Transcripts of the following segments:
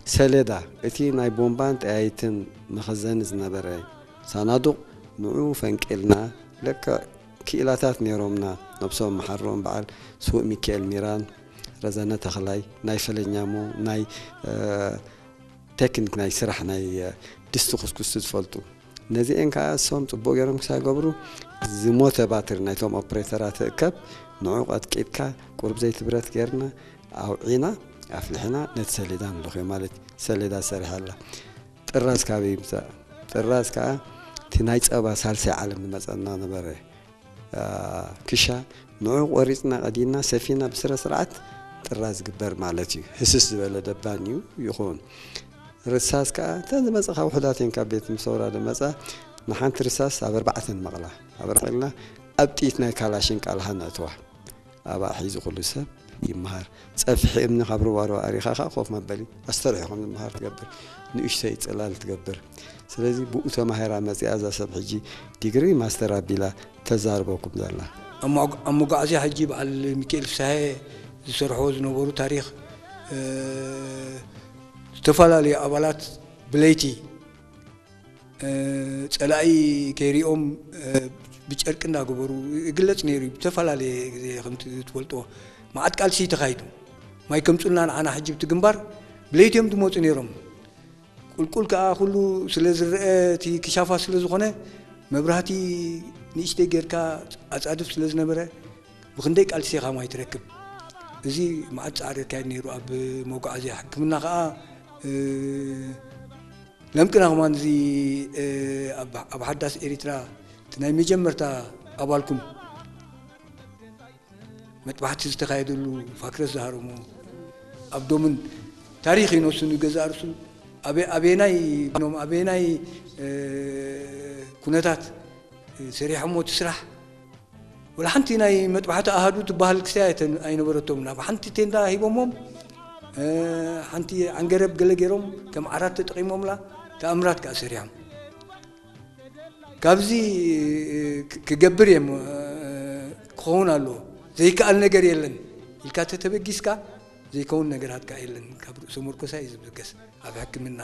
ሰሌዳ፣ እቲ ናይ ቦምባን ጠያይትን መኸዘኒ ዝነበረ ሳናዱቕ፣ ንዑ ፈንቂልና። ለክዕ ክኢላታት ነይሮምና፣ ነብሶም መሓሮም፣ በዓል ስዉእ ሚካኤል ሚራን፣ ረዘነ ተኽላይ፣ ናይ ፈለኛሞ፣ ናይ ቴክኒክ ናይ ስራሕ ናይ ድስቲ ኩስኩስቲ ዝፈልጡ። ነዚኤን ከዓ እሶም ጽቡቕ ገይሮም ክሳብ ገብሩ፣ ዝሞተ ባትሪ ናይቶም ኦፕሬተራት እከብ፣ ንዑ ቀጥቂጥካ፣ ቁርብ ዘይትብረት ገይርና፣ ኣውዒና፣ ኣፍልሕና፣ ነቲ ሰሌዳ ንልኽዮ ማለት እዩ። ሰሌዳ ሰሪሐላ። ጥራዝ ካበይ ይምጻእ? ጥራዝ ከዓ እቲ ናይ ጸባ ሳልሳይ ዓለም ዝመጸና ነበረ። ክሻ ንዑ ቆሪጽና ቀዲና ሰፊና ብስረ ስርዓት ጥራዝ ዝግበር ማለት እዩ። ህስስ ዝበለ ደባን እዩ ይኹን። ርሳስ ከዓ እተን ዝመጻኻ ውሑዳት እየን፣ ካብ ቤት ምስ ኣውራደ መጻ። ንሓንቲ ርሳስ ኣብ ኣርባዕተን መቕላ ኣብ ረቂልና ኣብ ጥይት ናይ ካላሽን ቃልሃ ነእትዋ። ኣብኣ ሒዙ ኩሉ ሰብ ይመሃር። ጸፍሒ እምኒ ካብ ሩባ ሩባ ኣሪኻ ከዓ ኮፍ መበሊ ኣስተርሑ ከም ዝመሃር ትገብር። ንእሽተይ ጽላል ትገብር። ስለዚ ብኡ ተማሂራ መጺኣ እዛ ሰብ ሕጂ ዲግሪ ማስተር ኣቢላ ተዛርበኩም ዘላ። ኣብ መጓ- ኣብ መጓዓዝያ ሕጂ በዓል ሚካኤል ፍስሃየ ዝሰርሕዎ ዝነበሩ ታሪኽ፣ እ፣ ዝተፈላለዩ ኣባላት ብለይቲ፣ እ፣ ጸላኢ ከይሪኦም፣ እ፣ ብጨርቂ እንዳገበሩ ይግለጽ ነይሩ እዩ። ብተፈላለየ ግዜ ከምቲ ትፈልጥዎ መዓት ቃልሲ ተኻይዱ። ማይ ከምጹልና ንዓና ሕጂ ብቲ ግንባር ብለይቲ እዮም ዝመጹ ነይሮም። ቁልቁል ከኣ ኩሉ ስለ ዝረአ እቲ ክሻፋ ስለ ዝኾነ መብራህቲ ንእሽተይ ጌርካ ኣጻድፍ ስለ ዝነበረ ብኽንደይ ቃልሲ ኢኻ ማይ ትረክብ። እዚ መዓት ጻዕሪ ይካየድ ነይሩ ኣብ መጓዓዝያ። ሕክምና ከኣ፣ እ፣ ለምቅና ከማን እዚ፣ እ፣ ኣብ፣ ኣብ ሓዳስ ኤሪትራ እቲ ናይ መጀመርታ ኣባልኩም መጥባሕቲ ዝተኻየደሉ ፋክረስ ዝሃረሞ ኣብ ዶምን ታሪኽ እዩ ነሱ ንገዛእ ርእሱ ኣበ-፣ ኣበየናይ፣ ኣበየናይ፣ እ፣ ኩነታት ሰሪሖሞ እቲ ስራሕ። ወላ ሓንቲ ናይ መጥባሕቲ ኣሃዱ ትበሃል ክስታይ ኣይተ-፣ ኣይነበረቶምን። ኣብ ሓንቲ ቴንዳ ሂቦሞም፣ እ፣ ሓንቲ ዓንገረብ ገለ ገይሮም ከም ዓራት ተጠቒሞምላ ተኣምራት ከኣ ሰሪሖም። ካብዚ ክ-፣ ክገብር እየ እሞ፣ እ፣ ክኸውን ኣለዎ። ዘይከኣል ነገር የለን ኢልካ ተተበጊስካ ዘይከውን ነገራት ከኣ የለን። ካብ ርእሰ መርኮሳ እዩ ዝብገስ። ኣብ ሕክምና፣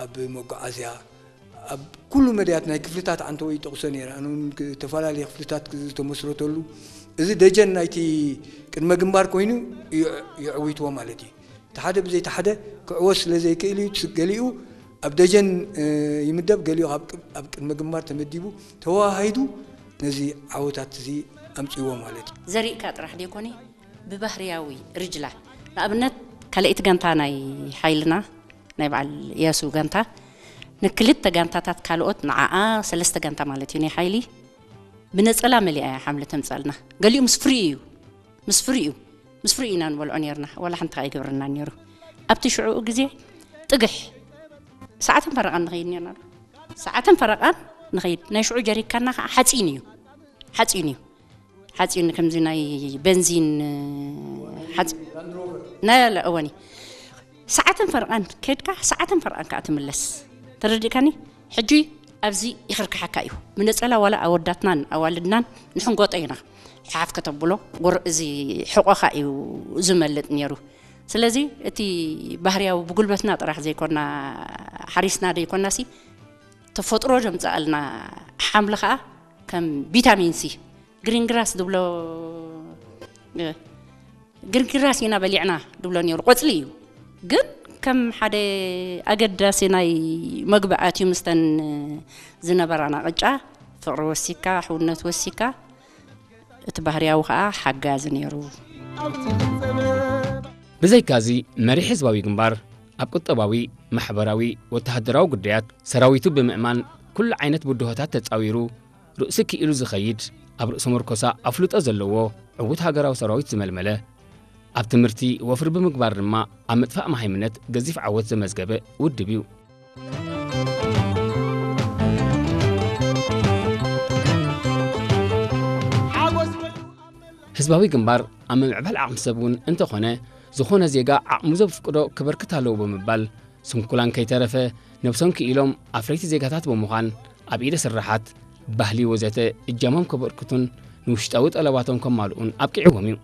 ኣብ መጓዓዝያ፣ ኣብ ኩሉ መድያት ናይ ክፍልታት ዓንተወይ ይጠቕሶ ነይረ። ኣነ እውን ክ-፣ ዝተፈላለየ ክፍልታት ክ-፣ ዝተመስረተሉ፣ እዚ ደጀን ናይቲ ቅድመ ግንባር ኮይኑ ይዕ-፣ ይዕዊትዎ ማለት እዩ። እቲ ሓደ ብዘይ እቲ ሓደ ክዕወት ስለ ዘይክእል እዩ። ስ-፣ ገሊኡ ኣብ ደጀን፣ እ፣ ይምደብ፣ ገሊኡ ኣብ ቅ-፣ ኣብ ቅድመ ግንባር ተመዲቡ ተወሃሂዱ ነዚ ዓወታት እዚ ኣምጺእዎ ማለት እዩ። ዘሪእካ ጥራሕ ደይኮነ፣ ብባህርያዊ ርጅላ፣ ንኣብነት፣ ካልኣይቲ ጋንታ ናይ ሓይልና፣ ናይ በዓል እያሱ ጋንታ፣ ንክልተ ጋንታታት ካልኦት፣ ንዓኣ ሰለስተ ጋንታ ማለት እዩ፣ ናይ ሓይሊ ብነጸላ መሊኣ እያ ሓምሊ ተምጻልና። ገሊኡ ምስ ፍሪኡ እዩ፣ ምስ ፍሪኡ፣ ምስ ፍሪኡ ኢና ንበልዖ ነይርና፣ ዋላ ሓንቲ ከኣ ኣይገብረናን ነይሩ። ኣብቲ ሽዑኡ ግዜ ጥግሕ ሰዓትን ፈረቓን ንኸይድ ነይርና። ሰዓትን ፈረቓን ንኸይድ። ናይ ሽዑ ጀሪካና ከኣ ሓጺን እዩ። ሓጺን እዩ። ሓጺን ከምዚ ናይ በንዚን ሓጺ-፣ ናይ፣ ላ፣ እወኒ። ሰዓትን ፈረቓን ከድካ፣ ሰዓትን ፈረቓን ከኣ ትምለስ። ተረዲእካኒ? ሕጂ ኣብዚ ይኽርክሓካ እዩ። ብነጸላ ዋላ ኣወዳትናን ኣዋልድናን ንሕንጎጦ ኢና። ሓፍ ከተብሎ፣ ጎር-፣ እዚ ሕቖኻ እዩ ዝመልጥ ነይሩ። ስለዚ እቲ ባህርያዊ ብጉልበትና ጥራሕ ዘይኮና፣ ሓሪስና ዘይኮናሲ፣ ተፈጥሮ ዘምጽኣልና ሓምሊ ኸኣ ከም ቪታሚን ሲ፣ ግሪን ግራስ ዝብሎ፣ እ፣ ግሪን ግራስ ኢና በሊዕና ዝብሎ ነይሩ። ቆጽሊ እዩ። ግን ከም ሓደ ኣገዳሲ ናይ መግቢ ኣትዩ ምስተን ዝነበራና ቅጫ፣ ፍቕሪ ወሲካ፣ ሕውነት ወሲካ፣ እቲ ባህርያዊ ኸኣ ሓጋዚ ነይሩ። ብዘይካዚ፣ መሪሕ ህዝባዊ ግንባር ኣብ ቁጠባዊ፣ ማሕበራዊ፣ ወተሃደራዊ ጉዳያት ሰራዊቱ ብምእማን ኩሉ ዓይነት ብድሆታት ተጻዊሩ ርእሲ ክኢሉ ዝኸይድ፣ ኣብ ርእሰ መርኮሳ ኣፍልጦ ዘለዎ ዕዉት ሃገራዊ ሰራዊት ዝመልመለ፣ ኣብ ትምህርቲ ወፍሪ ብምግባር ድማ ኣብ ምጥፋእ መሃይምነት ገዚፍ ዓወት ዘመዝገበ ውድብ እዩ። ህዝባዊ ግንባር ኣብ ምምዕባል ዓቕሚ ሰብ እውን እንተኾነ፣ ዝኾነ ዜጋ ዓቕሙ ዘፍቅዶ ከበርክት ኣለዎ ብምባል፣ ስንኩላን ከይተረፈ ነብሶም ክኢሎም ኣፍረይቲ ዜጋታት ብምዃን ኣብ ኢደ ስራሓት፣ ባህሊ ወዘተ እጃሞም ከበርክቱን ንውሽጣዊ ጠለባቶም ከማልኡን ኣብቂዕዎም እዩ።